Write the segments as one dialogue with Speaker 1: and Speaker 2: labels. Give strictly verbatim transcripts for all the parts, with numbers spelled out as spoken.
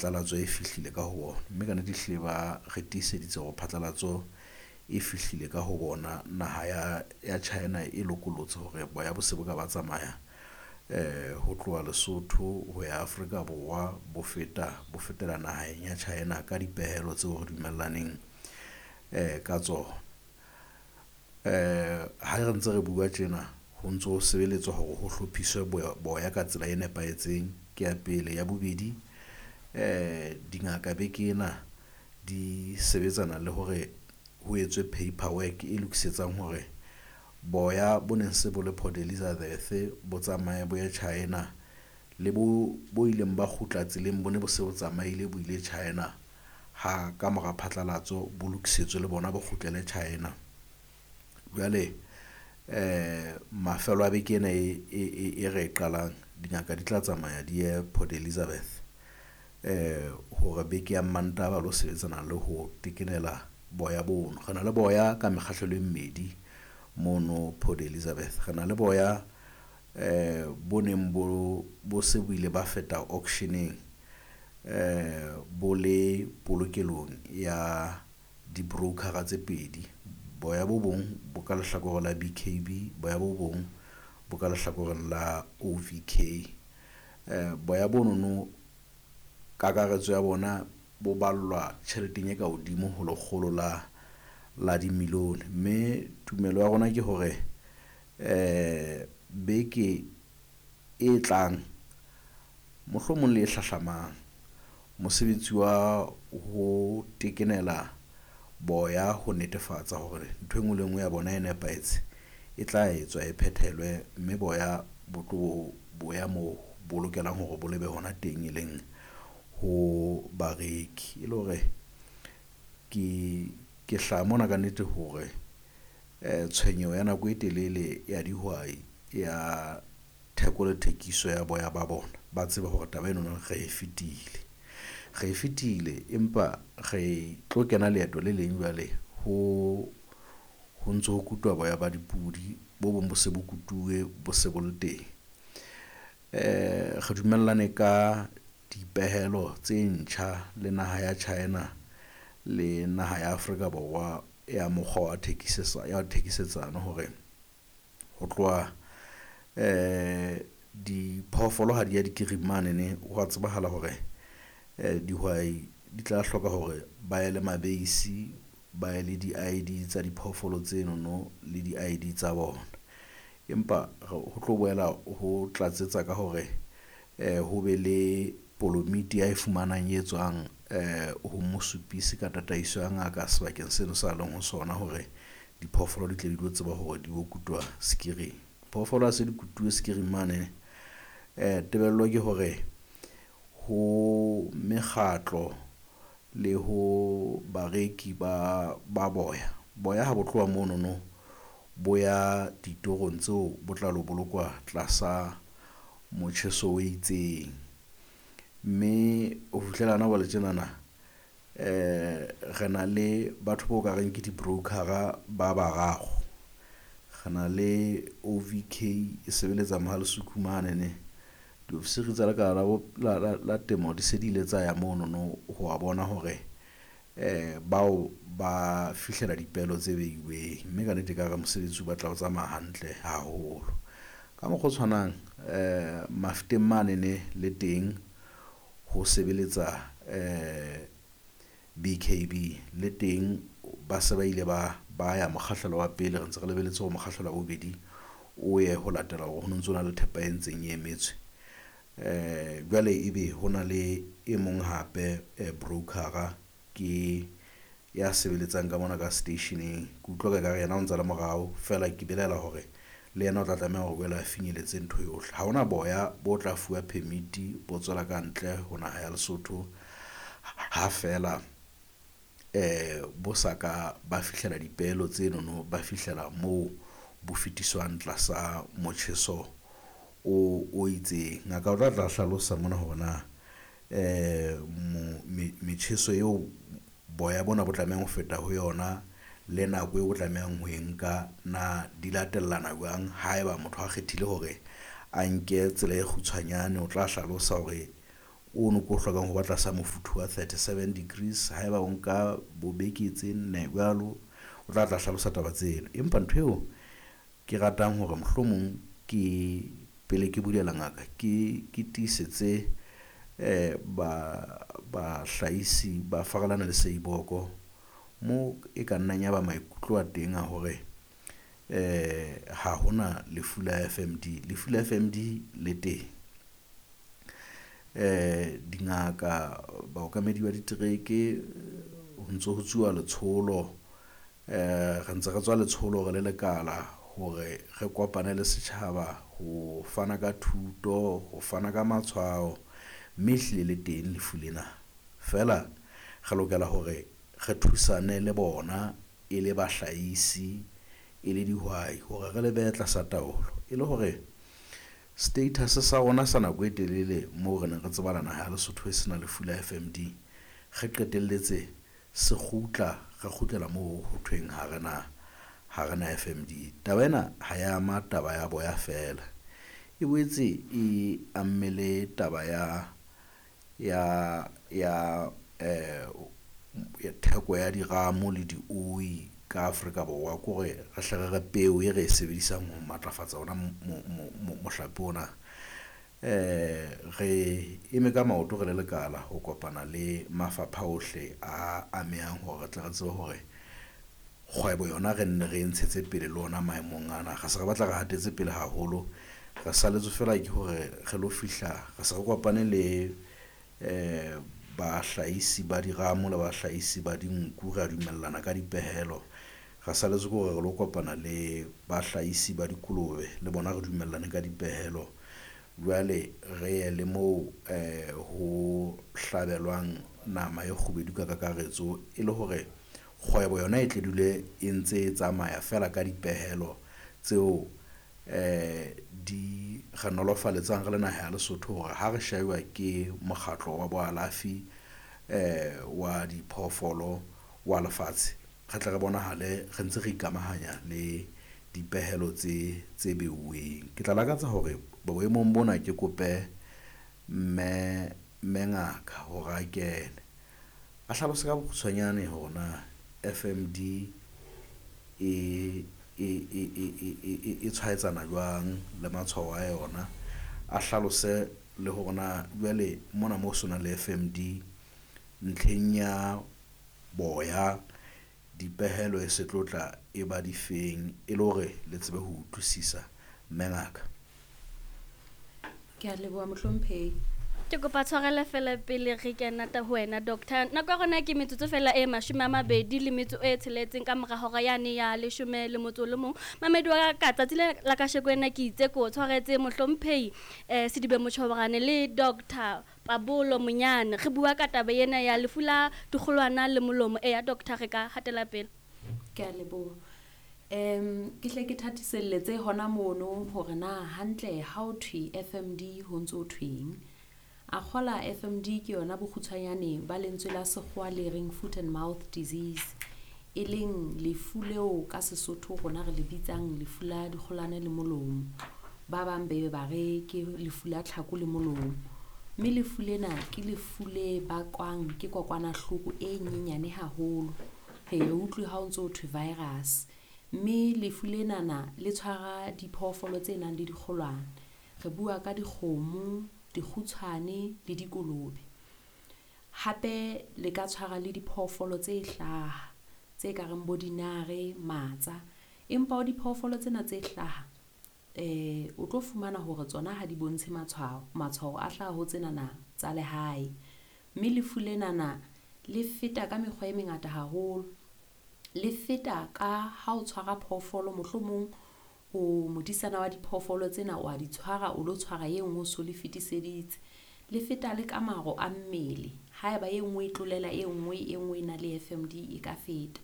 Speaker 1: phatlalatso e fihlile ka ho bona, mme ka nnete ehlile ba re tiiseditse hore phatlalatso e fihlile ka ho bona. Naha ya ya China e lokollotse hore boya bo se bo ka ba tsamaya ho tloha Lesotho ho ya Afrika Borwa bo feta bo fetela naheng ya China ka dipehelo tseo re dumellaneng ka tsona. Ha re ntse re bua tjena ho ntso sebeletswa hore ho hlophiswe boya ka tsela e nepahetseng ke ya pele, ya bobedi dingaka beke ena di sebetsana le hore ho etswe paper work e lokisetsang hore boya bo neng se bo le Port Elizabeth bo tsamaye bo ye China le bo bo ileng ba kgutla tseleng, bo ne bo se bo tsamaile bo ile China ha ka mora phatlalatso bo lokisetswe le bona bo kgutlele China. Jwale mafelo a beke ena e re e qalang dingaka di tla tsamaya di ye Port Elizabeth hore beke ya Mantaha ba lo sebetsana le ho tekenela boya bono. Re na le boya ka mekgahlelo e mmedi mono Port Elizabeth, re na le boya bo neng bo bo se bo ile ba feta auction-eng bo le polokelong ya di-broker-a tse pedi. Boya bo bong bo ka lehlakore la B_K_B, boya bo bong bo ka lehlakoreng la O_V_K. Boya bo no no kakaretso ya bona bo ballwa tjheleteng e ka hodimo ho lekgolo la la di-million, mme tumelo ya rona ke hore beke e tlang mohlomong le e hlahlamang mosebetsi wa ho tekenela boya ho netefatsa hore ntho e ngwe le e ngwe ya bona e nepahetse e tla etswa e phethelwe, mme boya bo tlo bo ya moo bo lokelang hore bo lebe hona teng, e leng ho bareki. E le hore ke ke hlaha mona ka nnete hore tshwenyeho ya nako e telele ya dihwai ya theko le thekiso ya boya ba bona, ba tsebe hore taba eno no re e fetile, re e fetile empa re tlo kena leeto le leng jwale ho ho ntso ho kutwa boya ba dipudi bo bong bo se bo kutuwe bo se bo le teng. Re dumellane ka dipehelo tse ntjha le naha ya China le naha ya Afrika Borwa ya mokgwa wa wa thekisetsano hore ho tloha diphoofolo ha di ya dikiring mane ne hwa tsebahala hore dihwai di tla hloka hore ba ye le mabeisi, ba ye le di-I_D tsa diphoofolo tsenono le di-I_D tsa bona, empa ho tlo boela ho tlatsetsa ka hore ho be le polomiti ya e fumanang e tswang ho mosupisi ka tataiso ya ngaka sebakeng seno sa leng ho sona hore diphoofolo di tle di tlo tseba hore di yo kutwa sekiring. Phoofolo ha se di kutuwe sekiring mane, tebello ke hore ho mekgatlo le ho bareki ba ba boya, boya ha bo tloha mono no bo ya ditorong tseo bo tla lo bolokwa tlasa motjheso o itseng, mme ho fihlela hona jwale tjenana re na le batho bo ka reng ke di-broker-a ba bararo. Re na le O_V_K e sebeletsa Mohale's Hoek mane ne, diofisiri tsa Lekala la la la Temo di se di ile tsa ya mono no ho wa bona hore bao ba fihlela dipehelo tse beuweng, mme ka nnete ekare mosebetsi o batla o tsamaya hantle haholo. Ka mokgwa o tshwanang Mafeteng mane ne le teng ho sebeletsa B_K_B le teng ba se ba ile ba ba ya mokgahlelo wa pele, re ntse re lebelletse hore mokgahlelo wa bobedi o ye ho latela hore ho no ntsona le thepa e ntseng e emetswe. Jwale ebe ho na le e mong hape broker-a ke ya sebeletsang ka mona ka seteisheneng, ke utlwa ekare yena o ntsa le morao feela ke belaela hore le yena o tla tlameha hore boela finyelletse ntho yohle. Ha hona boya bo tla fuwa permit bo tswela kantle ho naha ya Lesotho ha feela bo sa ka ba fihlela dipehelo tseno no, ba fihlela moo bo fetiswang tlasa motjheso o o itseng. Ngaka o tla tla hlalosa mona hore na metjheso eo boya bona bo tlamehang ho feta ho yona le nako eo o tlamehang ho e nka na di latellana jwang. Haeba motho a kgethile hore a nke tsela e kgutshwanyane, o tla hlalosa hore ono ko hlokang ho ba tlasa mofuthu wa thirty-seven degrees. Haeba o nka bobeke tse nne jwalo, o tla tla hlalosa taba tseno. Empa ntho eo ke ratang hore mohlomong ke pele ke bulela ngaka ke ke tiisetse eh ba bahlahisi ba Farelane le Seiboko mo e ka nnang ya ba maikutlo a teng a hore eh ha hona lefu la F M D. Lefu la F M D le teng. Eh dingaka, baokamedi ba ditereke, ho ntso ho tsuwa letsholo, eh re ntse re tswa letsholo re le lekala hore re kopane le setjhaba ho fana ka thuto, ho fana ka matshwao, mme ehlile le teng lefu lena. Feela re lokela hore re thusane le bona e le bahlahisi, e le dihwai hore re le behe tlasa taolo, e le hore status sa rona sa nako e telele moo re neng re tsebana naha ya Lesotho e sena lefu la F M D, re qetelletse se kgutla, re kgutlela moo ho thweng ha re na, ha re na F M D. Taba ena ha ya ama taba ya boya feela, e boetse e amme le taba ya, ya, ya, eh, ya theko ya diramo le dioi ka Afrika Borwa. Ke hore re hle re re peo e re e sebedisang ho matlafatsa ona mo-, mo-, mo-, mohlape ona. Eh, re eme ka maoto re le lekala ho kopana le mafapha ohle a amehang hore re tle re tsebe hore kgwebo yona re nne re e ntshetse pele le ona maemong ana. Re se re batla re hatetse pele haholo, re saletswe fela ke hore re lo fihla, re se re kopane le eh bahlahisi ba diramo le bahlahisi ba dinku, re a dumellana ka dipehelo. Re saletswe ke hore re lo kopana le bahlahisi ba dikolobe le bona re dumellane ka dipehelo. Jwale re ye le moo eh ho hlabelwang nama e kgubedu ka kakaretso, e le hore kgwebo yona e tle dule e ntse e tsamaya fela ka dipehelo tseo eh di re nolofaletsang re le naha ya Lesotho hore ha re shejwa ke mokgatlo wa boalafi eh wa diphoofolo wa lefatshe, re tle re bonahale re ntse re ikamahanya le dipehelo tse, tse beuweng. Ke tla lakatsa hore boemong bona ke kope mme, mme ngaka hore a kene a hlalose ka bokgutshwanyane hore na F M D e, e, e, e, e, e, e, e tshwaetsana jwang le matshwao a yona, a hlalose le hore na jwale mona mo so nang le F M D ntlheng ya boya dipehelo e se tlo tla e ba difeng, e le hore le tsebe ho utlwisisa. Mme ngaka.
Speaker 2: Ke a leboha mohlomphehi.
Speaker 3: Ke kopa tshwarelo fela pele re kena ta ho wena doctor. Nako ya rona ke metsotso fela e mashome a mabedi le metso e tsheletseng ka mora hora yane ya leshome le motso o le mong. Mamedi wa ka, tsatsi le la kasheko ena ke itse ko tshwaretse mohlomphehi, eh, Sedibe Motjhoborane le Doctor Pabolo Monyane. Re bua ka taba ena ya lefu la dikgolwana le molomo. Eya doctor, re ka hatela pele.
Speaker 2: Ke a leboha. Em, ke hle ke thatiselletse hona mono hore na hantle ha ho thwe F M D ho ntso ho thweng. A kgola F M D ke yona bokgutshwanyane ba lentswe la sekgowa le reng foot and mouth disease, e leng lefu leo ka Sesotho rona re le bitsang lefu la dikgolane le molomo. Ba bang be ba re ke lefu la tlhako le molomo. Mme lefu lena ke lefu le bakwang ke kokwanahloko e nyenyane haholo. Re e utlwe ha o ntso ho thwe virus. Mme lefu lenana le tshwara diphoofolo tse nang le dikgolwane. Re bua ka dikgomo, dikgutshwane le dikolobe. Hape le ka tshwara le diphoofolo tse hlaha, tse ka reng bo dinare, matsa. Empa ho diphoofolo tsena tse hlaha, eh, o tlo fumana hore tsona ha di bontshe matshwao. Matshwao a hlaha ho tsenana tsa lehae. Mme lefu lenana le feta ka mekgwa e mengata haholo. Le feta ka ha o tshwara phoofolo, mohlomong o modisana wa diphoofolo tsena o a di tshwara, o lo tshwara e nngwe o so le fetiseditse. Le feta le ka maro a mmele. Haeba e nngwe e tlolela e nngwe, e nngwe e na le F M D e ka feta.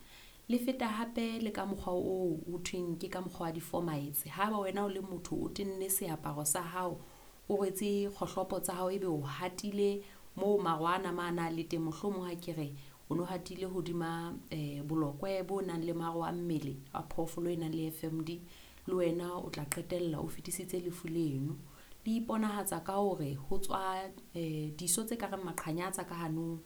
Speaker 2: Le feta hape le ka mokgwa oo ho thweng ke ka mokgwa wa di-fomites. Haeba wena o le motho o tenne seaparo sa hao, o rwetse kgohlopo tsa hao, ebe o hatile moo maro ana ma na le teng, mohlomong ha ke re o no hatile hodima, eh, bolokwe bo nang le maro a mmele a phoofolo e nang le F M D, le wena o tla qetella o fetisitse lefu leno. Di iponahatsa ka hore ho tswa eh, diso tse ka reng maqhanyatsa ka hanong.